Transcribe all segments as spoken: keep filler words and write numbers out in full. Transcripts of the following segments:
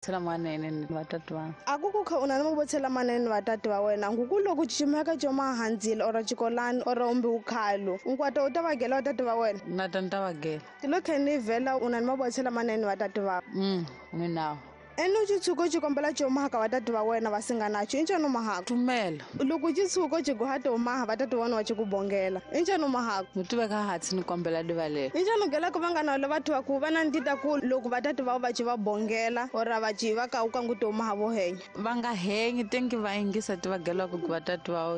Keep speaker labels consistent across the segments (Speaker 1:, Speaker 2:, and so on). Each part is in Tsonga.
Speaker 1: Manene ni vatati va
Speaker 2: a ku ku kha u na ni mavonelo manene ni vatati va wena nguku loko cimeka coma handzile ora xikolani ora umbi ukhalo nkwata u ta va gela vatati va wena
Speaker 1: na ta ni ta va gela
Speaker 2: tilo khe ni vhela u na ni mavonelo manene ni vatati va
Speaker 1: mm ni nawo
Speaker 2: ene u xitshuko xi kombela comaha ka vatati va wena va singanacho i ncani u mahaka
Speaker 1: tumela
Speaker 2: loko xitshuko xi goha tomaha vatati va wena va xi ku bongela i ncani u mahaka
Speaker 1: ni tiveka hansi ni kombela divalela
Speaker 2: i ncani u gelaka va nga na le vathu va ku va na ntita ku loko vatati va va ci va bongela ora va ci va ka u kangu tomaha vo henya
Speaker 1: va nga henyi tengi va yingisa ti va gelaka ku vatati va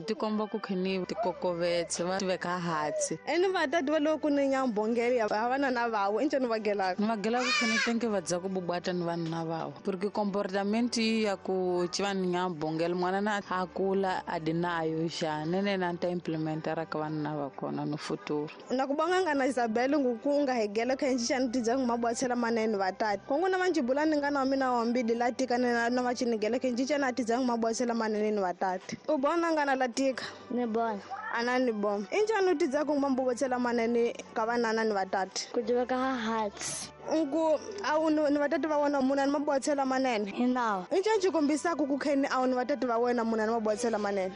Speaker 1: ti komba ku khini tikokovetse va tiveka hansi
Speaker 2: ene vatati va loko ni nya bongela ya va na na vawo i ncani va gelaka
Speaker 1: ni va gelaka khini tengi va dza ku bubata ni va na vawo porque comportamento ya ku ci va ni nga bongela mwana na a kula a di nayo xa nene na ta implementa ra ka vanhu va kona no futuro
Speaker 2: na ku bonga nga na Isabel nguku nga hegela kha nxi ni tidza nguma bwatsela manene vatati kongo na vanjibula ni nga na mina wa mbili la tika na na vachinigela kha nxi na tidza nguma bwatsela manene ni vatati u bona nga na la tika
Speaker 3: ni bona
Speaker 2: ana ni bom injani u tidza ku nguma bwatsela manene ka vanana ni vatati
Speaker 3: ku tiveka ha hearts
Speaker 2: ngu awu ni vatati va wena munhu ni mabwatsela manene
Speaker 3: hinawo
Speaker 2: i ncani xikombisaka ku kheni awu ni vatati va wena munhu ni mabwatsela manene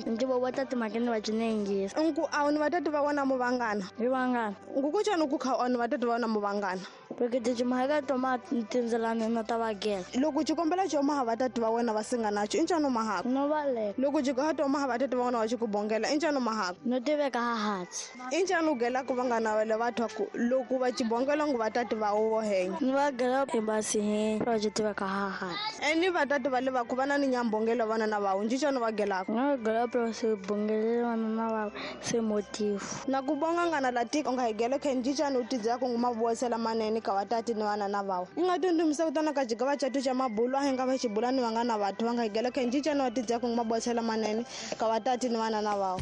Speaker 3: ndzi vo vatati mhaka ni va cinengisa
Speaker 2: nku awu ni vatati va wena mu vangana
Speaker 3: hi vangana
Speaker 2: ngu ku cani ku kha awu ni vatati va wena mu vangana
Speaker 3: loko timhaka toma tindzelani na ta va gela
Speaker 2: loko xikombela xo maha vatati va wena va singanacho i ncani u mahaka
Speaker 3: no valeka
Speaker 2: loko xikoha to maha vatati va wena va xi ku bongela i ncani u mahaka
Speaker 3: no tiveka ha hansi
Speaker 2: i ncani u gelaka va nga na le vathu ku loko va xibongela ngu vatati va wo henya
Speaker 3: ni va gela embasi he va xi tiveka ha hansi
Speaker 2: eni vatati va le va ku va na ni nyambongelo vana na vawo ncani va gelaka
Speaker 3: no gela pro se bongele vana na vawo se motive
Speaker 2: na ku bonga nga na latika u nga hegela khe ncani u tidza ku nguma bwasela manene ka vatati ni vana na vawo i nga tundumisa ku tana ka jigava chatu cha mabulu a hi nga va xibula ni vanga na vathu va nga hegela khe ncani wa tidza ku nguma bwasela manene ka vatati ni vana na vawo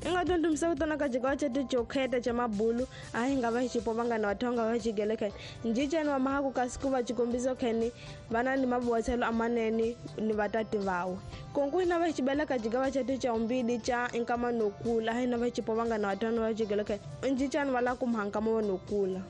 Speaker 2: i nga tundumisa ku tana ka jigava chatu cho kheta cha mabulu a hi nga va xipo va nga na vathu va nga va xigele kheni ncicani wa mahaku kasi ku va xikombiso kheni vana ni mabwatselo amanene ni vatati vawe konku hina va xibela ka jigava chatu cha umbili cha nkama no kula a hi na va xipo va nga na vathu va xigele kheni ncicani va la ku mhanka mo no kula.